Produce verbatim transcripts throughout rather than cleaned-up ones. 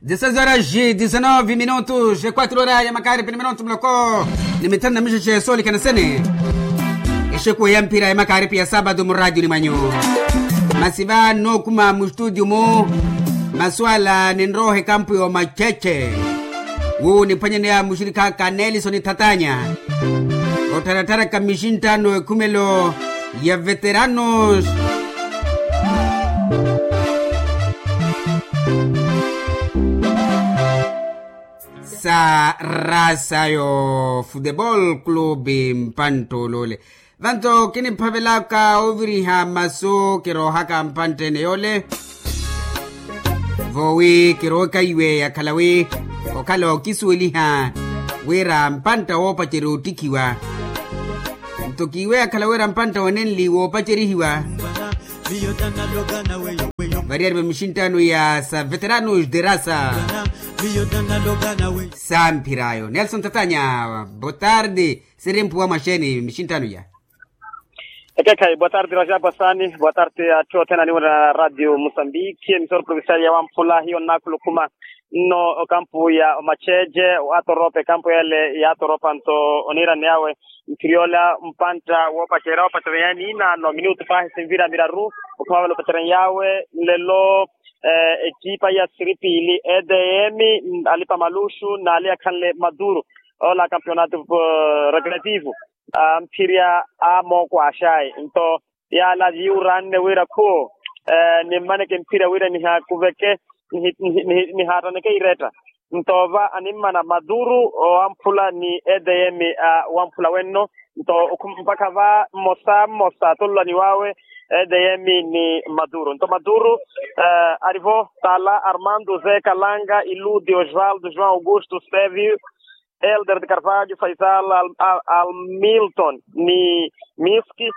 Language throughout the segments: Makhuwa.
Dezesseis horas e dezanove minutos, e quatro horas ya makaaripi ni minutu muloko ni mithanu na mixexe soolikana sene. Exekuwe ya mphira ya makaaripi ya saapatu muraatiyoni mwanyu. Masi va nnookuma mustutio-mu masuwala ninrooha ekampu y'omacheche. Wuwo niphwanyaneya muxirikha aka nelison thatanya, ottharatharaka mixinttano ekhumelo ya veteranos sa rasa yo futebol club. Mpanttolole vanto kiniphavelaka oviriha masu kiroohaka mpanttene yole. Vowi kirookaiwe yakhala wi okhala okisuweliha wira mpantta woopacerya ottikhiwa. Nto kiiwe yakhala wira mpantta wanenli woopacerihiwa variyari va mixinttano ya sa veteranos de rasa. Samphir'ayo nelson tatanya, botardi. Siri mphuwa mwaxeeni mixinttano ya? Ekekhayi botardi rajabu asani, botardi atthu othene aniwira radio musambiki emisoro provincial ya wamphula hiyo nnakhulukuma nno okampu ya omacheche. Atoropa ekampu yale ya atoropa nto oniirani yawe mphiryola mpantta woopacerya woopacerya yaani inaano minutu pahi sinvira miraru. Okhuma vale opacerya yawe nlelo ekipa ya siripili edm alipa maluxu naali akhanle maduro ola campeonato recreativo. Mphirya a mookwaxayi nto yaala yiwuranne wira khu nimmaneke mphirya wira nihakuveke nihaattaneke iretta. Nto va animmana maduro owamphula ni edm a wamphula wenno. Nto mpakha va mmosa mmosa atololani wawe edm ni maduro nto maduro arivo tala armando ze kalanga iludi osvaldo joão augusto stevio elder de carvalho faisal almilton ni miski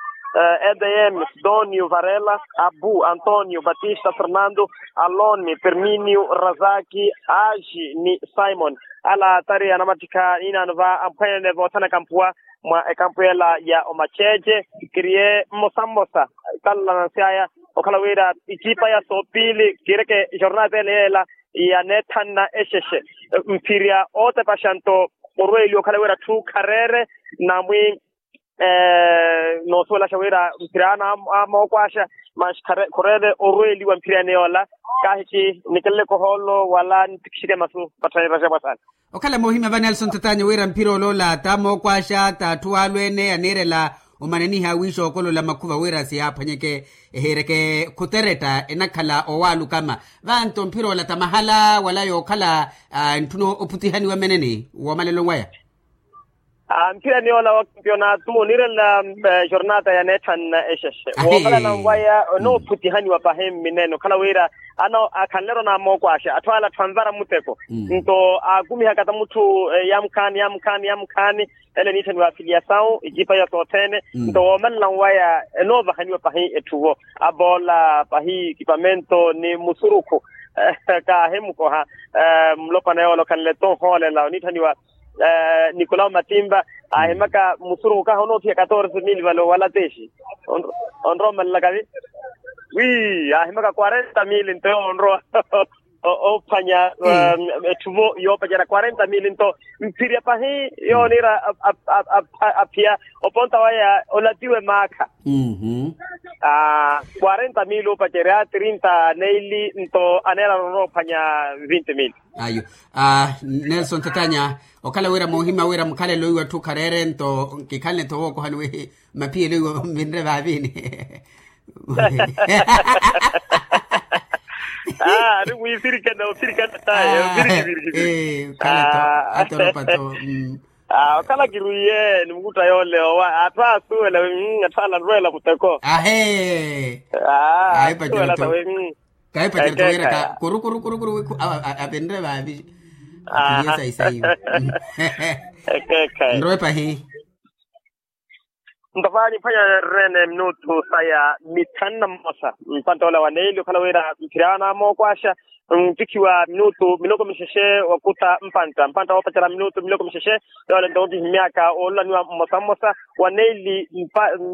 edm sidonio varela abu antonio batista fernando aloni perminio razaki aji ni simon. Ala tari anamattikha inaano va amphwene voothanaka mpuwa mwa ekampu yela ya omacheche. Kiriye mmosa mmosa talla nansi aya okhala wira ikipa ya soopili kiireke jornada ele yeela ya neethanna exexe mphirya ootepaxa nto orweeliwa okhala wira atthu khareere namwi noosuwelaxa wira mphirya ana amookwaaxa manxi khureele orweeliwa mphirya ene yoola. Kaahikhi nikeleleke ohoolo wala nittikixeke masu patthani raxapwa sana. Okhala moohimya va nelson tatanya wira mphira oloola t'amookwaaxa t'atthu waalweene aniirela omananiha wiixookolola makhuva wira siyaaphwanyeke ehiireke khuteretta enakhala owaalukama. Vanto mphira ola tamahala wala yookhala ntthuna ophutihaniwa mmeneni woomaleloni waya. Mphirani yoola wa kampionato oniirela jornata ya neethanna exexe woomaleloni waya onoophutihaniwa pahi mminene okhala wira ano akhanle-ro namookwaaxa atthu ala atthu anvara muteko nto aakumihaka ta mutthu yamukhaani yamukhaani yamukhaani. Ele eniitthaniwa afiliasawu ikipa ya sothene nto woomalelani waya enoovahaniwa pahi etthuvo aboola pahi ekipamento ni musurukhu kaahimukoha. Mulopwana yoola okhanle-to nhoolela oniitthaniwa nicolau matimba aahimaka musurukhu kahi onoothiya catorze mil vale owalatexi onrowa omalelakavi wi aahimaka quarenta mil nto yowo onrowa oophwanya etthuvo yoopacerya quarenta mil nto mphirya pahi yooniira aphiya oponta waya olatiwe maakha. Quarenta mil oopacerya trinta neili nto aneerara onrowa ophwanya vinti mil. Ayo nelson tatanya okhala wira moohimya wira mukhalelo iwe atthu khareere nto kikhalele nto wookohani wi maphiyelo iwe vinre vaavini. Ari mwiisirikana osirikana taye osirikana. Okhala to atoropa to. Okhala kirwiye ni mukutta yoole owa atthu aasuwela atthu ala anrweela muteko. Ahe. Aasuwela tawe. Kahipacerya wira ka kuru kuru kuru kuru wikhu avinre vaavi. Akhiliye saisaiwe. Nrowe pahi. Nto vaali mphwanya rene minutu saya mithanu na mmosa mpantta ola wa neili okhala wira mphirya ana amookwaaxa ntikhiwa minutu miloko mixexe wakuta mpantta mpantta woopacerya minutu miloko mixexe. Yoole nto onkihimyaka woolulaniwa mmosa mmosa wa neili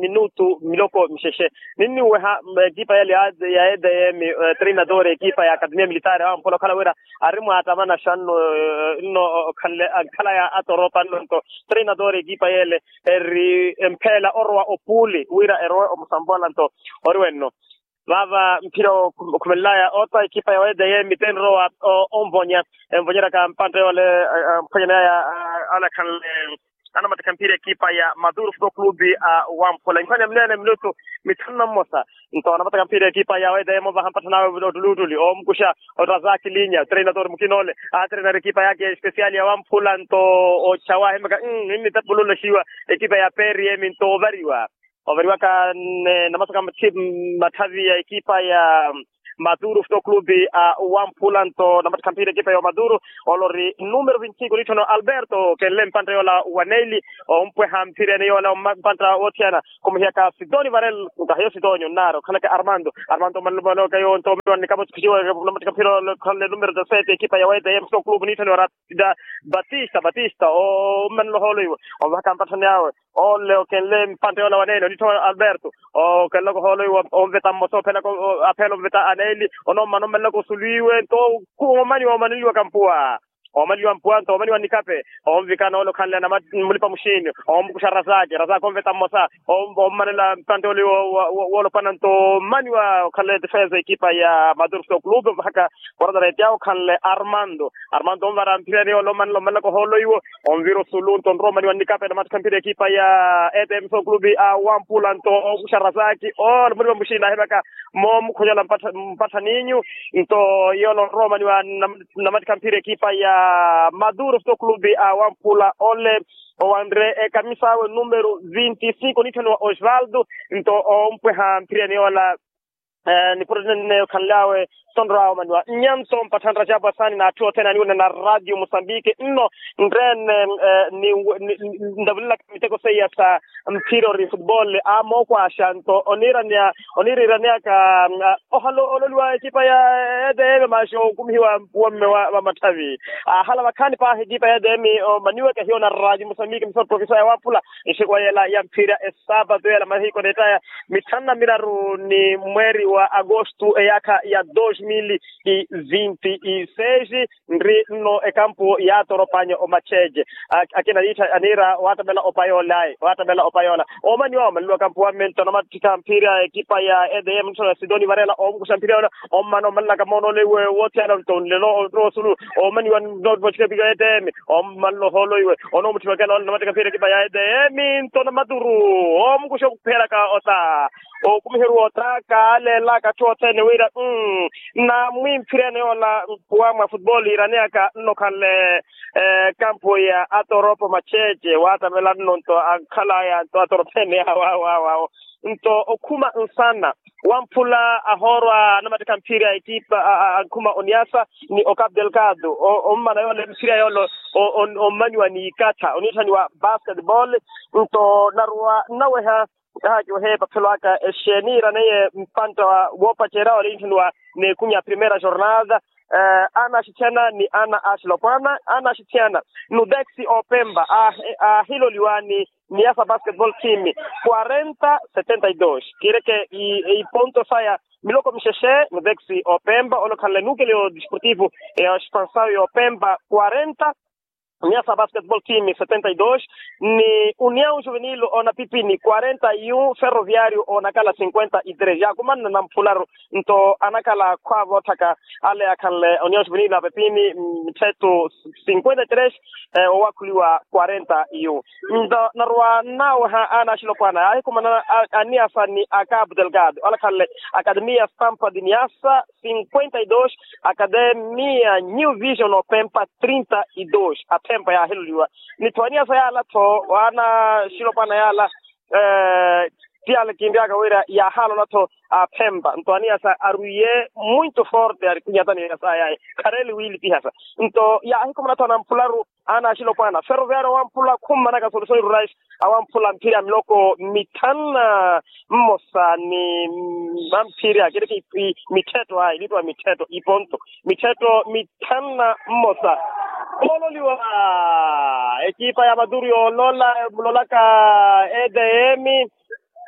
minutu miloko mixexe. Ninniweha ekipa yale ya edm, treinador ekipa ya akademia militaare awampula okhala wira ari mwaattamanaxa nno nno okhanle ankhala ya atoropa nno nto treinador ekipa yale eri empheela orowa opuuli wira erowe omusambola nto ori wenno. Vaava mphira okhumelelaya otta ekipa ya wedm tenrowa onvonya envonyeryaka mpantte yoole. Mphwanyaneyaya alakhanle anamatikha mphira ekipa ya maduru futebol clube a wamphula inkhwanya mneene minutu mithanu na mmosa. Nto anamatikha mphira ekipa ya wedm ovaha mpattha nawe ottuli ottuli omukuxa otta zakilinya treinador mukina ole atreinari ekipa yake especial ya wamphula nto ochawa ahimaka. Nnittepululexiwa ekipa ya prm nto ovariwa ovariwaka namasaka matthavi ya ekipa ya maduru futebol clube a wamphula nto namattikha mphira ekipa ya maduru. Olori numero vinti cinco nitthano alberto kenle mpantta yoola wa neili ompweha mphira ene yoola mpantta woothiyana khumuhiyaka sidoni varel nkahiyo sidoni onnaari okhalaka armando armando manlumanoka yo nto omaniwa nnikapa otikhuxiwa namattikha mphira yoola okhanle numero dezasete ekipa ya wedm futebol clube nitthano ora batista batista ommanela ohoolo iwe ovahaka mpatthani awe. Ole okenle mpantte yoola wa neili onittho alberto okenlaka ohoolo iwe onveta mmosa ophelaka apheela onveta aneili onommana ommanelaka osulu iwe nto omaniwa omaneliwaka mpuwa omaneliwa mpuwa nto omaniwa nnikape onvikana ole okhanle mulipa muxiini omukuxa razaki razaki onveta mmosa ommanela mpantte ole woolopwana nto omaniwa okhanle defensa ekipa ya maduru futebol clube ovahaka. Porata retti awo okhanle armando armando onvara mphira ene yoola omanela omanelaka ohoolo iwe onvira osulu nto onrowa omaniwa nnikape namattikha mphira ekipa ya edm futebol clube a wamphula nto okuxa razaki ole mulipa muxiini ahimaka moomukhonyela mpatthaninyu nto yoola onrowa omaniwa namattikha mphira ekipa ya maduru futebol clube a wamphula ole owanre ekamisa awe numero vinti cinco nitthaniwa osvaldo nto ompweha mphira ene yoola nipuro nene okhanle awe sonrowa omaniwa nnyanto mpatthanra capu asaani n'atthu othene aniwina na radio mosambike nno nreene ntavulelaka miteko seiya sa mphira ori futebol amookwaxa nto oniiraneya oniiriiraneyaka ohala ololiwa ekipa ya edm maxi okumihiwa mpuwa mme wa matthavi ahala vakhaani paahi ekipa ya edm omaniwaka hiyo na radio mosambike misa profesa ya wamphula nxiku wa yela ya mphira esapato yela mahiku onettaya mithanu na miraru ni mweeri wa agosto eyaakha ya dos mil e vinte e seis nri nno ekampu yaatoropanya omacheche akina niittha aniira waattamela opayolayi waattamela opayola omaniwa omaneliwaka mpuwa mme nto namattikha mphira ekipa ya edm nttho ya sidoni varela omukuxa mphira yola ommana omanelaka moonole iwe woothiyana nto nlelo onrowa osulu omaniwa nnoottipa otthikhapika ya edm ommanela ohoolo iwe onoomutthipakela ole namattikha mphira ekipa ya edm nto namaturu omukuxa okuphelaka ota okumiheruwa ota kaaleelaka atthu othene wira mm namwimphirene yoola mpuwa mwa futebol iiraneyaka nno okhanle kampu ya atoropo macheche waattamela nno nto ankhalaya nto atorophene awo awo awo awo nto okhuma nsana wamphula ahoorwa anamattikha mphira ekipa ankhuma oniasa ni ocapu delgado ommana yoole mphira yoole ommanyiwa ni ikatha oniitthaniwa basketball nto naruwa nnaweha nkahakiwehe epaphelo aka exeeni iraneiye mpantta woopacerya ole iniitthaniwa n'ekumi ya primeira jornada ana axitthiyana ni ana axilopwana ana axitthiyana nudexi opemba aahiloliwa ni niasa basketball team quarenta setenta y dos kiireke iponto saya miloko mixexe nudexi opemba ole okhanle nukeleyo desportivo ya expansaw y'opemba quarenta niasa basketball team setenta y dos ni uniaw juvenil onapipini quarenta y un ferroviario onakala cinquenta y tres yaakumanna namphularu nto anakhala khwaavootthaka ale akhanle oniya oxuvinila apepini mthettu cinquenta y tres owakhuliwa quarenta y un nto naruwa nnaweha ana axilopwana yaahikhumana aniyasa ni acapu delgado alakhanle akademia stampa di niyasa cinquenta y dos akademia new vision opempa trinta y dos athempa yaahiloliwa nitthu aniyasa yaala-tho waana axilopwana yaala Ti ale kinryaka wira yaahalola-tho aphempa nto aniyasa arwiye mwinto forte ari kunyatani yasaya ayi khareli wiilipihasa. Nto yaahikumana-tho anamphularu ana axilopwana ferroviario wamphula khummanaka solution rurais awamphula mphiri ya miloko mithanu na mmosa ni amphiri akiriki mithetto ayi ilitwa mithetto iponto mithetto mithanu na mmosa. Ololiwa ekipa ya maduru yoolola mulolaka edm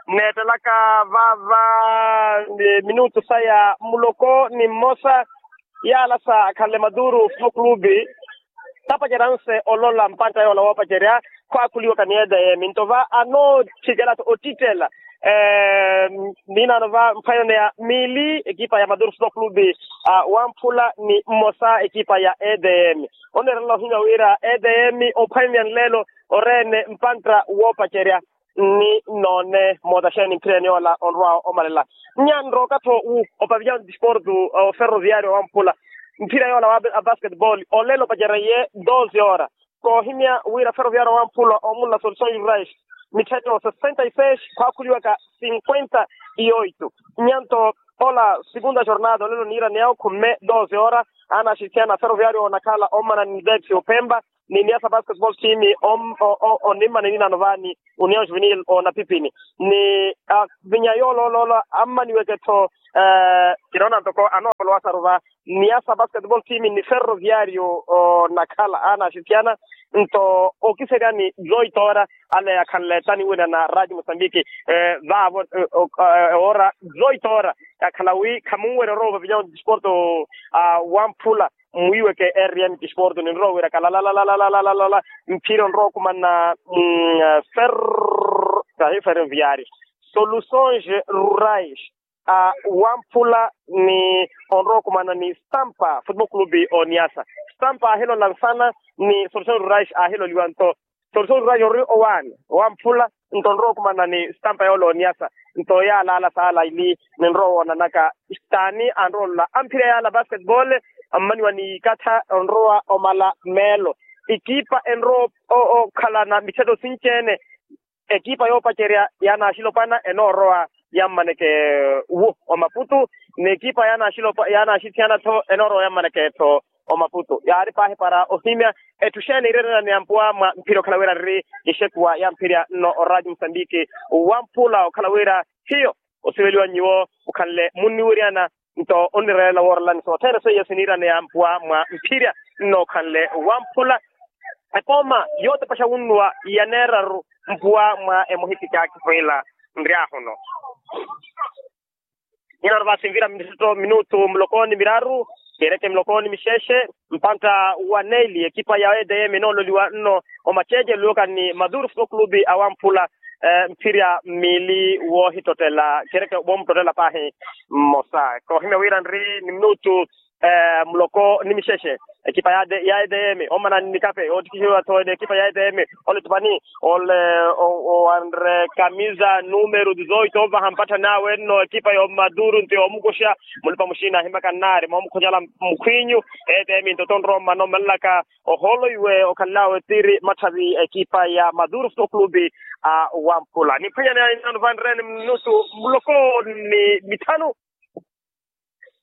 neettelaka vava minutu saya muloko ni mmosa. Yaalasa akhanle maduru fo clube tapacerya nse olola mpantta yoola woopacerya khwaakhuliwaka ni edm nto va anoothikela-tho ottittela. Niinaano va mphwanyani ya miili ekipa ya maduru fo clube wamphula ni mmosa ekipa ya edm. Oneerela ohimya wira edm ophwanyani ya nleelo oreene mpantta woopacerya ni noone mootaxeeni mphireni yoola onrwa omalela. Nyanroka-tho wu opavilya ontisportu oferroviario wamphula mphira yoola wa basketball olelo opacerya iye doze hora. Koohimya wira ferroviario wamphula omunla solution rurais mithetto sessenta y seis khwaakhuliwaka cinquenta y oito. Nyanto ola segunda jornada olelo niiraneya okhumme doze hora. Aana axitthiyana ferroviario onakhala ommana ni depsi ophempa ni niasa basketball team onimmana ninaano vaani union juvenil onapipini ni avinya yoolooloola ammaniweke-tho. Kinoona ntoko anoopolowasaru va niasa basketball team ni ferroviario onakhala aana axitthiyana nto okiseryani zoito hora ale akhanle tani wina na radio mosambiki vaavo ora zoito hora akhala wi khamunwerya orowa vavinya ontisporto wamphula mwiiweke rm tisporto ninrowa wira kalalalalala mphira onrowa okhumana ferro kahi ferroviario soluções rurais wamphula ni onrowa okhumana ni stampa football clube oniasa stampa ahilola nsana ni soluções rurais ahiloliwa nto soluções rurais ori owaani wamphula nto onrowa okhumana ni stampa yoola oniasa nto yaalaala saala ili ninrowa woonanaka staani anrowa olola amphira yaala basketball ammaniwa ni ikatha onrowa omala meelo ekipa enrowa okhalana mithetto sinci-ene ekipa yoopacerya yaana axilopwana enoorowa yammaneke wu omaputu n'ekipa yaana axithiyana-tho enoorowa yammaneke-tho omaputu yaari paahi para ohimya etthu xeeni ireerana ni ampuwa mwa mphira okhala wira nri ixekuwa ya mphirya nno oradio musambiki wamphula okhala wira hiyo osiveliwa nyuwo mukhanle munniwiryana nto onnireerela woorelani sothene seiya siniiraneya mpuwa mwa mphirya nnookhanle wamphula epooma yootepaxa wunnuwa yaneeraru mpuwa mwa emuhipikya kipwiila nryahu no. Nyinaano vaasinvira minutu muloko ni miraru kereke muloko ni mixexe mpantta wa neili ekipa ya edm enoololiwa nno omaceece lulokani ni maduru football clube awamphula mphirya miili woohittottela kereke woomuttottela paahi mmosa koohimya wira nri ni minutu muloko ni mixexe ekipa ya edm omana ni nikape oottikihiwa-tho ni ekipa ya edm ole tupani ole owanre kamisa numero dizoito ovaha mpatthani awe nno ekipa yoomaduru nto yoomukuxa mulipa muxina ahimaka nnaari moomukhonyala mukhwinyu edm nto tonrowa omana omalelaka ohoolo iwe okhanlawe tiri matthavi ekipa ya maduru football clube a wamphula nimphwanyani ya inaano vanreeni minutu muloko ni mithanu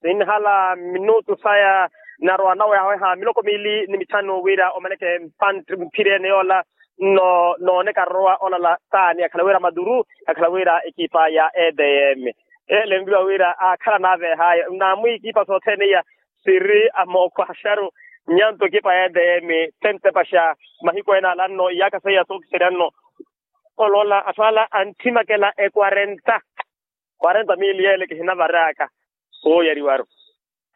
sinhala minutu saya narowa nawe yaweha miloko miili ni mithanu wira omaneke mphirene yoola nno nooneka arowa olala taani akhala wira maduru akhala wira ekipa ya edm ele nviwa wira akhala naavehaye naamwi ekipa sothene iya siri amookwaxaru nyanto ekipa ya edm tentepaxa mahiku ene ala nno iyaaka seiya sookiserya nno oloola atthu ala anthimakela ekwarenta kwarenta miili yeele kihinavaraka sooyariwaru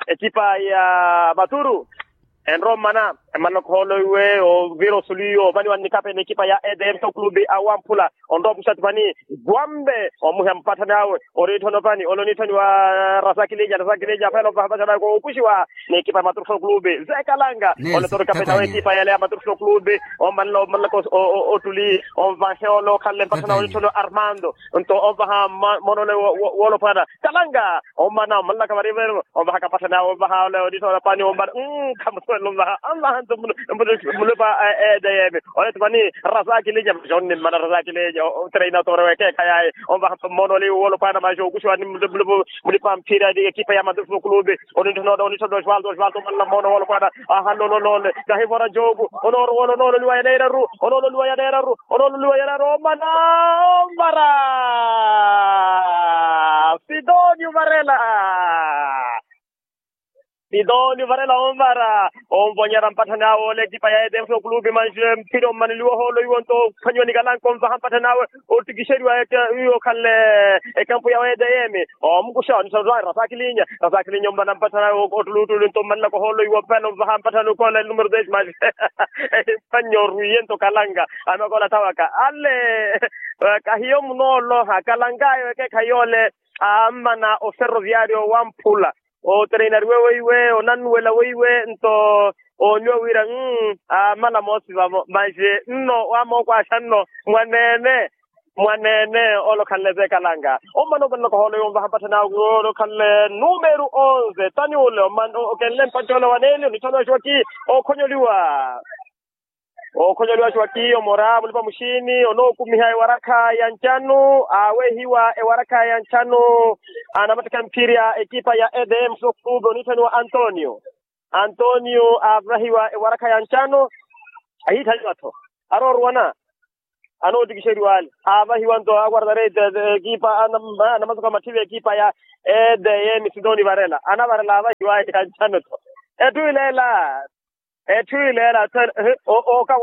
ekipa ya maturu enrommana emanna okhooloiwe ovira osuliyo ovaniwa nnikapeni ekipa ya edm to clube awamphula onrowa opuxa tupani gwambe omuha mpatthani awe oniitthoni opani ole oniitthoni wa rasakilija rasakilija aphela ovaha mpatthani awe koopuxiwa n'ekipa ya maturu to clube zekalanga ole toro kapeni awe ekipa yale ya maturu to clube omanna omanna ottuli onvahe ole okhanle mpatthani awe oniitthoni wa armando nto onvaha mmono ole woolopwana kalanga omana omanlaka varivero onvahaka mpatthani awe onvaha ole oniitthoni wa pani omana khamusuwela onvaha onvaha Mulipa edeyeme ole tupani, rasakilinya. Jonni mmana rasakilinya. Treina tore wekeekhayaye onvaha mmoona ole wolopwana maxa okuxiwa ni mulipa mphira ekipa ya madusu kulubi. Onitthona osvalto osvalto mmanna mmoona wolopwana. Ahanlolonole kahivora jogu. Onoorowolonole oliwa yaneeraru. Onoololiwa yaneeraru. Onoololiwa yaneeraru omana. Omvara. Sidoni uvarela. Sidoni uvarela omvara. Onvonyera mpatthani awe ole ekipa ya edeyeme sokulupi manxe mphira ommaneliwa ohoolo iwo nto ophwanyiwa ni kalanka onvaha mpatthani awe. Ottikixeriwa iwo okhanle ekampu ya edeyeme. Omukuxa onitthona rasakilinya. Rasakilinya omvana mpatthani awe ottuluttulu nto ommanelaka ohoolo iwo opela onvaha mpatthani okhola enumero desi manxe. Ehimpannye orwiye nto kalanka. Anokola thawaka ale. Kahiyo munooloha kalanka ayo ekeekhayi ole. Ammana oferroviario wamphula. Otreinariwe weiwe onannuwela weiwe nto ooniwa wira. Ammala moosi vavo manxe nno wamookwaxa nno mwaneene. Mwaneene ole okhanle zekalanga. Ommana opanelaka ohoolo iwo onvaha mpatthani awe ole okhanle numero onze tani ole okenle mpatthi ole waneeli onitthona oxiwaki. Okhonyoliwa. Okhonyoliwa xiwaki omora mulipa muxiini onookumiha ewarakha ya ncanu. Aawehiwa ewarakha ya ncanu. Anamattikha mphiri a ekipa ya edm sokulupi onitthaniwa antonio. Antonio aavahiwa ewarakha ya ncanu. Ahiitthaniwa-tho arooruwana. Anoottikixeriwa ale aavahiwa nto akwartara ekipa anamasuka matthi v'ekipa ya edm sidoni varela anavarela aavahiwa ya ncanu-tho. Etthu ileela. Etthu ileela.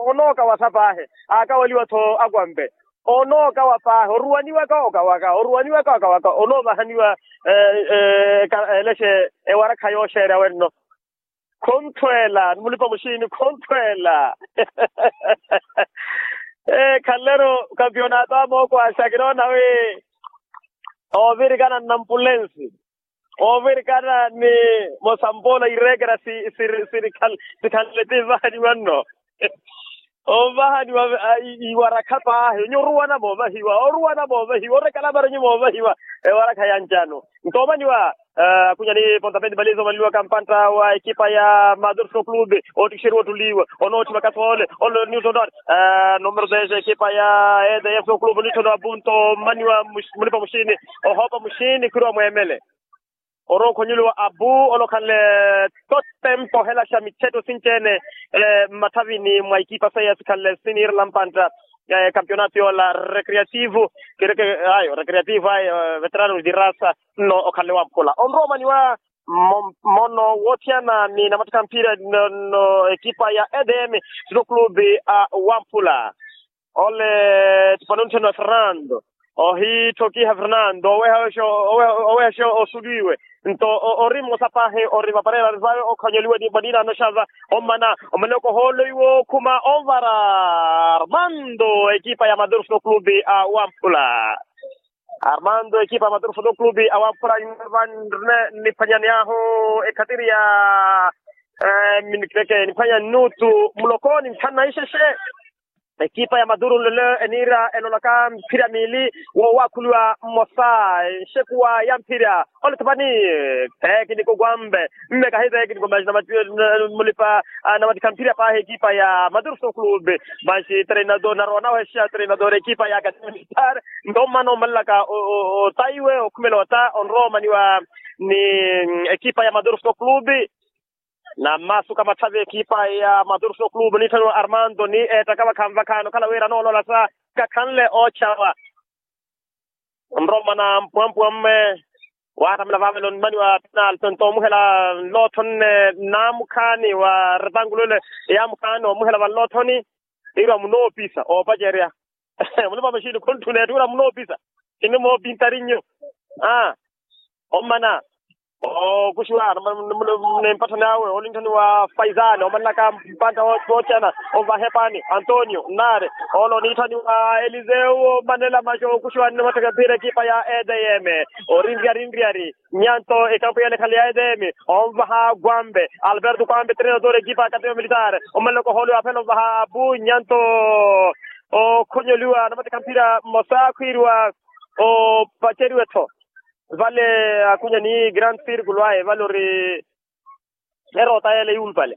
Onookawasa paahi. Aakaweliwa-tho akwampe. Onookawa paahi oruwaniwaka okawaka oruwaniwaka okawaka onoovahaniwa. Elexe ewarakha yooxeerya wenno. Khonthweela ni mulipa muxiini khonthweela. Khanle-ru kampionato amookwaxa kinoona wi. Oovirikana nnampulensi oovirikana ni mosampoola ireekera sikhanle ti vahaniwa nno. Ovahaniwa iwarakha paahi onyo oruwana moovahiwa oruwana moovahiwa orekala maronyi moovahiwa. Ewarakha ya ncanu nto omaniwa. Akunya ni pontapedi baliza omaniliwaka mpantta wa ekipa ya madurso clube oottikixeriwa ottuliwe. Onootthimaka soole ole ni utondoani. Numero dez ekipa ya edeyefo clube onitthoniwa abu nto omaniwa mulipa muxiini. Ohoopa muxiini khwiiriwa mweemele. Orookhonyeliwa abu ole okhanle to tempo ohelaxa mithetto sinci-ene mmathavini mwa ikipa seiya sikhanle siniirela mpantta. Kampionato yoola recreativo kireke ayo recreativo ayo veterano di rasa. Nno okhanle wamphula onrowa omaniwa mmono woothiyana ni namattikha mphira nno ekipa ya edm sino clube a wamphula. Ole tipano ontheno a fernando ohiitthokiha fernando oweha oweha osuliwe nto ori mmosa paahi ori vaparela vawe okhonyoliwe ni vanina anoxava. Ommana omanelaka ohoolo iwo okhuma onvara armando ekipa ya madurso clube a wamphula. Armando ekipa ya madurso clube a wamphula vanrine niphwanyani ahu ekhatiri ya miniteke niphwanya nnutu mulokoni nthanu na ixexe. Ekipa ya maduru nlole eniira enolaka mphira miili woowakhuliwa mmosa enxekuwa ya mphira. Ole thapani tekiniko kwambe mme kahi tekiniko manxi mulipa namattikha mphira paahi ekipa ya maduru soclube manxi treinador narowa nawexa treinador ekipa ya academia militar. Nto mmana omalelaka otaiwe okhumela ota onrowa omaniwa ni ekipa ya maduru soclube. Na mmasu ka matthavi ekipa ya madurso clube onitthaniwa armando ni eettaka vakhanvakhaani okhala wira anoolola sa kakhanle oochawa. Onrowa omana mpuwampuwa mme waattamela vaavela onimaniwa penalto nto omuhela nlootthoni nne naamukhaani wa retangulo ile yaamukhaani omuhela vanlootthoni. Iirwa munoopisa oopacerya mulipa maxini khuntthu neetthuwela munoopisa. Kinimoopintarinyu aa ommana ookuxiwa ni mpatthani awe olinttani wa faisale omanlaka mpantta woochana. Onvaha epaani antonio nnaare ole onitthani wa eliseu ommanela maxi ookuxiwa ni matthaka mphira ekipa ya edm orinriyari nriyari. Nyanto ekampu yale khale ya edm onvaha kwambe alberto kwambe treinador ekipa ya academia militar. Omanlaka ohoolo yaaphela onvaha abu nyanto okhonyoliwa namattikha mphira mmosa akhwiiriwa opaceriwe-tho vale akunya ni grand circulo aye vale ori eroota yeele yuulupale.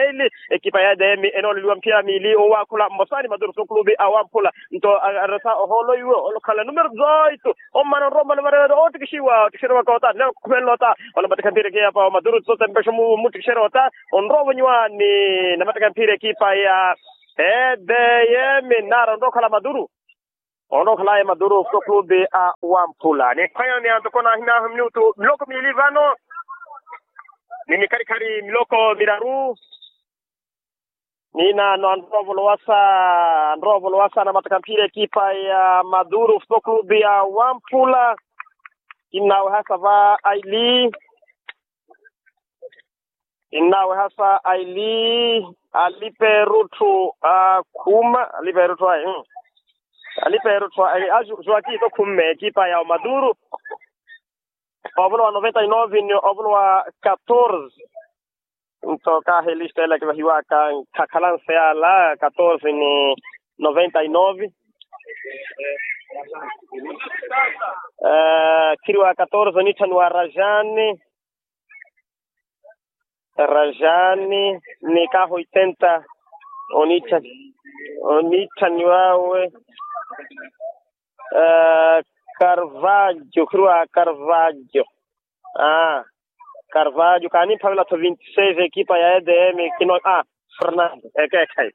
neili. Ekipa ya edm enooleliwa mphira miili owaakhula mmosa ni maduru foto clube a wamphula. Nto aresa ohoolo iwe olokhala numero dezoito. Ommana onrowa ommana varereto oottikixiwa oottikixeriwa koota nne okhumenla ota. Ola matikha mphira ekipa ya maduru tsotempexa omuttikixerya ota. Onrowa ovonyiwa ni namatikha mphira ekipa ya edm. Nara onrowa okhala maduru. Onrowa okhalaye maduru foto clube a wamphula ni ekhwanyani antoko nahinahu minutu miloko miili vano. Ni mikhalikhali miloko miraru. Ninaano anrowa ovolowasa anrowa ovolowasa namatikha mphira ekipa ya maduru foto clube ya wamphula. Kinnawe hasa va aili. Kinnawe hasa aili. Aliperutthu akhuma aliperutthu ayi. Aliperutthu ayi ajuakito khumme ekipa ya omaduru. Ovulo wa noventa y nove ni ovulo wa katorze. Nto kahi lista ela kivahiwaka nkhakhalanse yala katorze ni noventa y nove. Khiriwa katorze onitthaniwa rajani. Rajani ni kahi oitenta. Onitthaniwawe. Karvajo khiriwa karvajo. Karvajo kaanimphavela-tho vinti seis ekipa ya edm kino. Fernando ekeekhayi.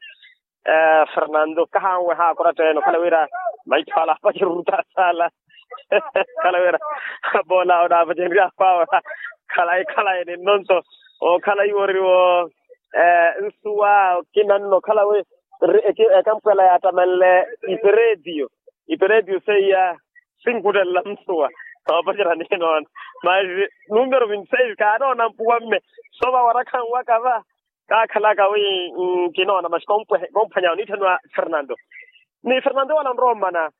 Fernando kahanweha akoratta ene okhala wira maitho ala apacerurutta sala. Okhala wira bola onaapacererya apawe. Khalayi khalayi ninno nto okhala iwo oriwo. Nsuwa okina nno okhala wi ekampwela yaattamanle iperetiyo. Iperetiyo seiya sinkuttelela nsuwa. Noopacerya ninoona. Masi numero vinti seis kaanoona mpuwa mme. Sova warakhanwaka va kaakhalaka wi nkinoona masi komphwanya oniitthaniwa fernando. Ni fernando wala onrowa ommana.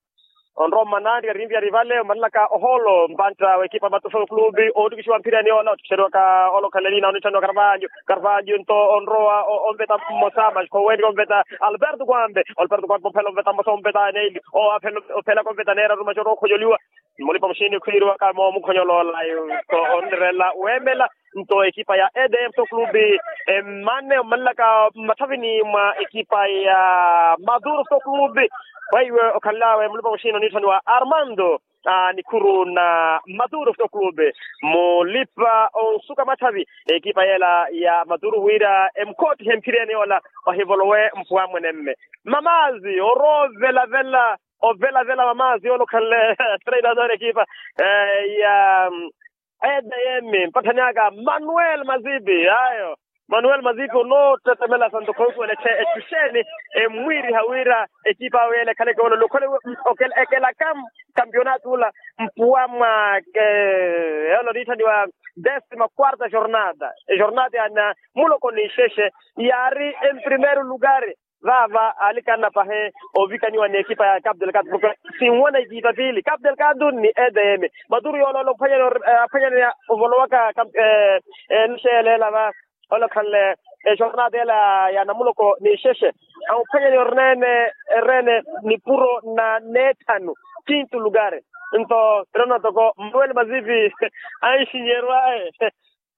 Onrowa ommana nti karinviyari vale omanlaka ohoolo mpantta w'ekipa matufo clube oottikixiwa mphirani ola oottikixeriwaka ola okhanle niina oniitthaniwa karvalho. Karvalho nto onrowa onveta mmosa masi khoweenrika onveta alberto kwambe. Alberto kwambe omphela onveta mmosa onveta neeli. Ophela konveta neeraru masi orowa okhonyoliwa. Mulipa muxini khwiiriwaka moomukhonyoloola. Nto onrerela weemela. Nto ekipa ya edm foto clube emmane ommalelaka mmathavini mwa ekipa ya maduro foto clube. Weiwe okhanlawe mulipa muxini oniitthaniwa armando. Nikhuru na maduro foto clube mulipa onsuka mathavi ekipa yeela ya maduro wira emukhoottihe mphireni yoola. Ohivolowe mpuwa mwene mme mamaazi orowa ovelavela. Ovelavela mamaazi yoola okhanle treinador ekipa ya edm mpatthani aka manuel mazipi ayo. Manuel mazipi onoottettemela santo khonsuwela echuxeeni emmwiiriha wira ekipa awe yeela ekhaleke olola okhole ekelaka kampionato ula mpuwa mwa yoola oniitthaniwa desima quarta jornada ejornada ya namuloko n'ixexe yaari emprimeiro lugar. Vaava aalikanna pahi ovikaniwa ni ekipa ya capu delgado porke sinwana ekipa piili capu delgado ni edm. Maturu yooloola ophwanyaneya ovolowaka enixeeleela va. Olokhanle ejornada ela ya namuloko n'ixexe amuphwanyaneya orneene erreene nipuro na neethanu. quinto lugar. Nto tirona toko manuel mazipi anxinyeru aye.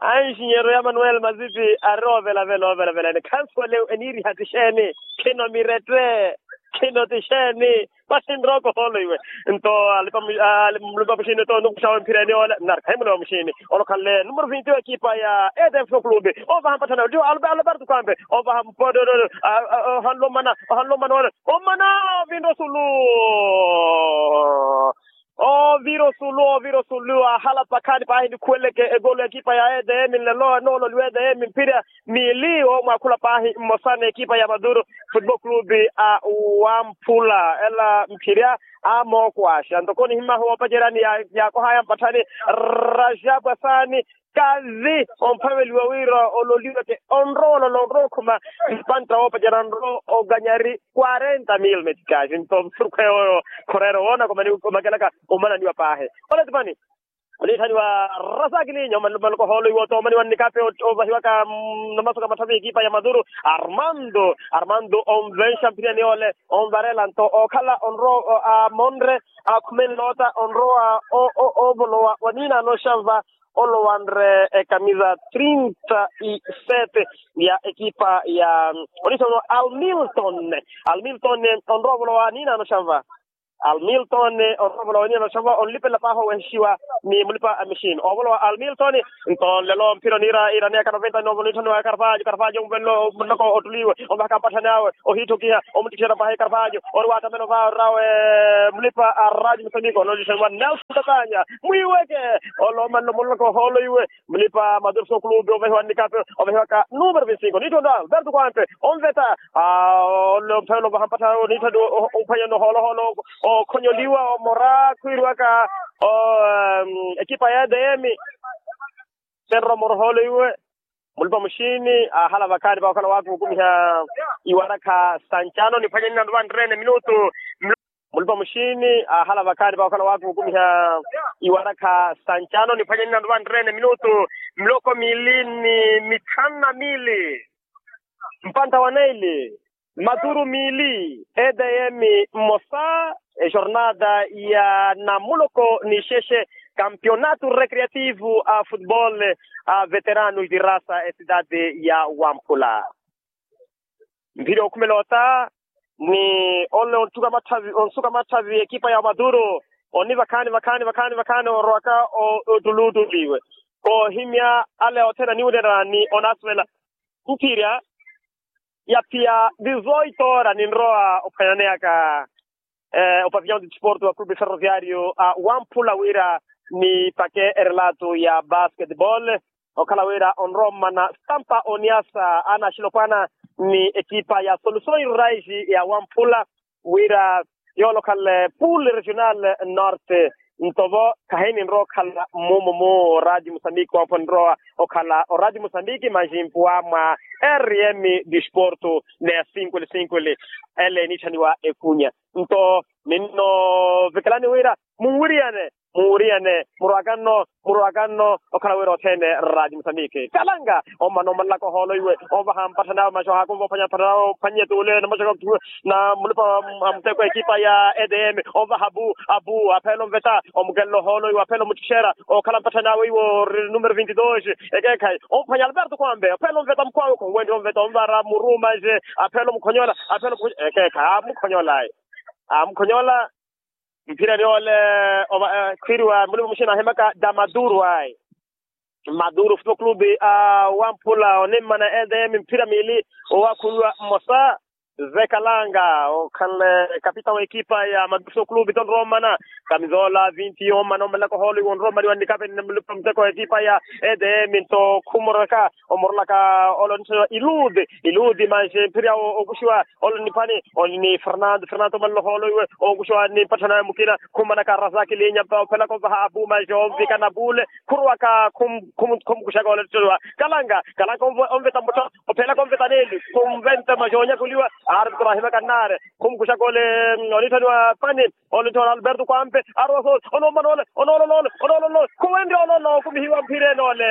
Anxinyeru ya manuel mazipi ari ovelavela ovelavela ene khansuwale eniiriha ti xeeni? Khino mirette. Khino ti xeeni? Paxinrooko hoolo iwe. Nto alipa muxini to nukuxawe mphireni ole narikhayi mulewa muxini. Olokhanle numero vinti wa ekipa ya etf clube. Ovaha mpatthana tiwo alberto kwampe. Ovaha mpoto. Ohanlomana ohanlomana ole. Omana ovinro sulu. Ovira osulu ovira osulu ahala pakhaani paahi nikhuweleke egolo ya ekipa ya edm nlelo enoololiwa edm mphira. Miili omwaakhula paahi mmosa n'ekipa ya maduro football clube a wamphula ela mphirya. Amookwaxa ntoko nihimahu woopacerya ni yaakohaya mpatthani. Rajabu asaani kazi omphaveliwa wira ololiweke onrowa olola onrowa okhuma. Mpantta woopacerya nro oganyari quarenta mil meticasi nto msurukhu eyo oyo. Khorero woona komakelaka omananiwa paahi. Oletipani oniitthaniwa rasakilinya omaloko hoolo iwo toomaniwa nnikape ovahiwaka. Namasoka matthavi ekipa ya maduro armando armando onvenxa mphiriyani ole onvarela nto ookhala onrowa amonre akhume nloota onrowa ovolowa wa niinaano xanva. Olowanre ekamisa trinta y sete ya ekipa ya onisa uno almilton. Almilton onrowa ovolowa niinaano xanva. Almilton onrowa ovolowa niinaano xanva onlipelela paahi owehexiwa ni mulipa a mixini ovolowa almilton. Nto nlelo mphira oniira iraneyaka noventa ni novo niitthaniwa karvajo karvajo onvelo muloko otuliwe. Onvahaka mpatthani awe ohiithokiha omuttikisana paahi karvajo ori waattamela ovaawe mulipa a radio musamiko onolittaniwa nelson tatanya. Mwiiweke oloomanelo muloko hoolo iwe mulipa madurso clube ovahiwa nnikape ovahiwaka numero vinti cinco niitthaniwa alberto kwampe. Onveta ole omphayela ovaha mpatthani niitthaniwa ophwanyana ohoolo hoolo okhonyoliwa omora khwiiriwaka ekipa ya edm. Senromoro hoolo iwe mulipa muxini ahala vakhaani vakhala waakukumiha iwarakha sancano niphwanye ninandu vanreene minutu. Mulipa muxini ahala vakhaani vakhala waakukumiha iwarakha sancano niphwanye ninandu vanreene minutu. Miloko miili ni mitthanu na miili mpantta wa neili. Maturu miili edm mmosa ejornada ya namuloko ni xexe kampionato recreativo a futebol a veteranos de rasa ecidade ya wamphula. Mphiri okhumela ota ni ole onttuka matthavi onsuka matthavi ekipa ya maduro oni vakhaani vakhaani vakhaani vakhaani orowaka ottuluttuli iwe koohimya ale othene aniwunerani onasuvela. Mphirya ya phiya dizoito ora ninrowa ophwanyaneyaka opavillon de desporto wa clube ferroviario a wamphula wira nipake erelato ya basketball. Okhala wira onrowa ommana stampa oniasa anaxilopwana ni ekipa ya soluções rurais ya wamphula wira yoolokhanle pool regional norte. Nto vo khahininrowa okhala mmumo mu radio musambiki wampho ninrowa okhala oradio musambiki manjimpuwa mwa rm disporto neya sinkweli sinkweli ele eniitthaniwa ekunya. Nto ninnovikelani wira munwiriyane munwiriyane murwaka nno murwaka nno. Okhala wira othene raaji musambiki kalanga ommana ommalelaka ohoolo iwe ovaha mpatthani awe maxo haakumva ophwanya mpatthani awe ophwannye tuule na maxo na mulipa a muteko ekipa ya edm ovaha abu abu aphela omveta omukelela ohoolo iwe aphela omutixera okhala mpatthani awe iwe ori numero vinti dos. Ekeekhayi omuphwanya alberto kwambe aphela omveta mukwawe khonwenttiha omveta omvara muru manje aphela omukhonyola aphela omukhonyola ekeekhayi amukhonyola ayi amukhonyola. Mphira ni ole khwiriwa mulipa muxina ahimaka da maduro ayi maduro football clube a wamphula onimmana edm mphira miili owakhulwa mmosa. Zekalanga okhanle kapita wa ekipa ya maduro football clube tonrowa ommana kamizola vinti ommana ommalelaka ohoolo iwe onrowa ommaliwa nnikape ni mulipa muteko wa ekipa ya edm nto khumorolaka omorolaka ole onitthaniwa ilude ilude manxe mphira owo okuxiwa ole nipani. Oni ni fernando fernando omanle ohoolo iwe okuxiwa ni mpatthani awe mukina khumanaka razaki linya mpa ophelaka ovaha abu manxe onvikana bule khuruwaka khumukuxaka ole ttiwa kalanga kalanga onveta mutha ophelaka onveta neli khunventa manxe onyakuliwa. Arbitro ahimaka nnaare khumukuxaka ole onitthaniwa pani. Ole ntthiwa na alberto kwampe arowa soole onoomana ole onoololoole onoololoole khuwenrya olola okumihiwa mphira enoole.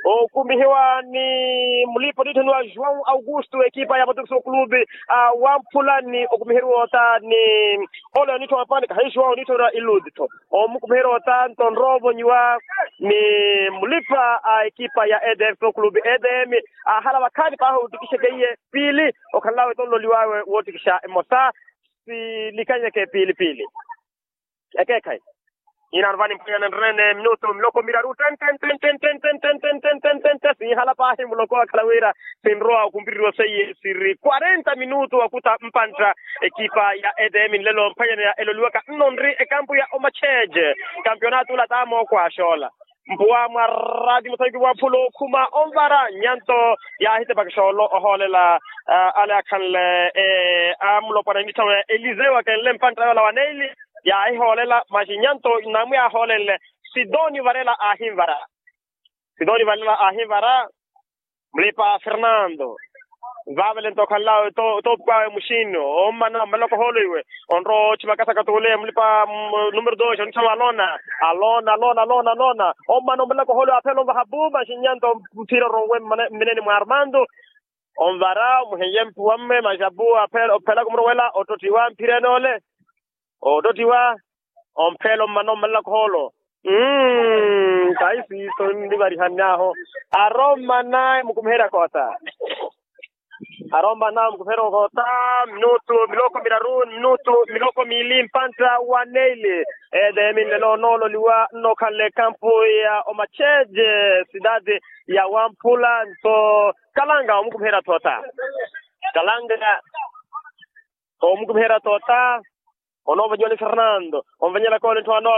Okumihiwa ni mulipa onitthoniwa joão augusto ekipa ya matukisi okulupi a wamphula ni okumihiwa ota ni ole onitthoniwa pani kahi joão onitthoniwa ilutitho. Omukumihiwa ota nto onroovonyiwa ni mulipa a ekipa ya edm okulupi edm. Ahala vakhaani pahi otikixeke iye piili okhanlawe tonloliwawe wootikixa emosa. Silikanyeke piili piili. Ekeekhayi inaano vani mphwanyana nrene minutu miloko miraru ten ten ten ten ten ten ten ten ten ten ten ten ten siihala paahi muloko akhala wira sinrowa okumpiririwa seiye siri quarenta minutu wakuta mpantta. Ekipa ya edm nlelo mphwanyana ya eloliwaka nno nri ekampu ya omacheje. Kampionato ula tamookwa axoola mpuwa mwa rati musaiki wa phulu okhuma onvara nyanto yaahitepaka xoolo ohoolela ale akhanle amulopwana nitthamo ya eliseu akenle mpantta yoola wa neili. Yaahihoolela maxi nyanto namwi ahoolenle sidoni varela aahinvara. Sidoni varela aahinvara mulipa fernando. Vavele nto okhanlawe toopukawe muxini ommana ommalaka ohoolo iwe onrowa ochimakasaka tuule mulipa numero dos onitthamo alona alona alona alona alona. Ommana ommalaka ohoolo iwe aphela onvaha pu maxi nyanto mphira oronwe mmineni mwa armando. Onvara omuheiye mpuwa mme maxi apu aphela ophela kumurowela ottottiwa mphira enoole. Ottottiwa omphela ommana ommalelaka ohoolo. Mmm kahi siiso nlivarihann'ahu. Arommana emukumiherya koota. Arommana emukumiherya koota minutu miloko miraru minutu miloko miili mpantta wa neili. Edm nlelo onoololiwa nnokhanle ekampu ya omacheje sidadi ya wamphula nto kalanga omukumiherya thoota. Kalanga omukumiherya toota. Onoovonyiwa ni fernando onvanyela koole ntthu ano.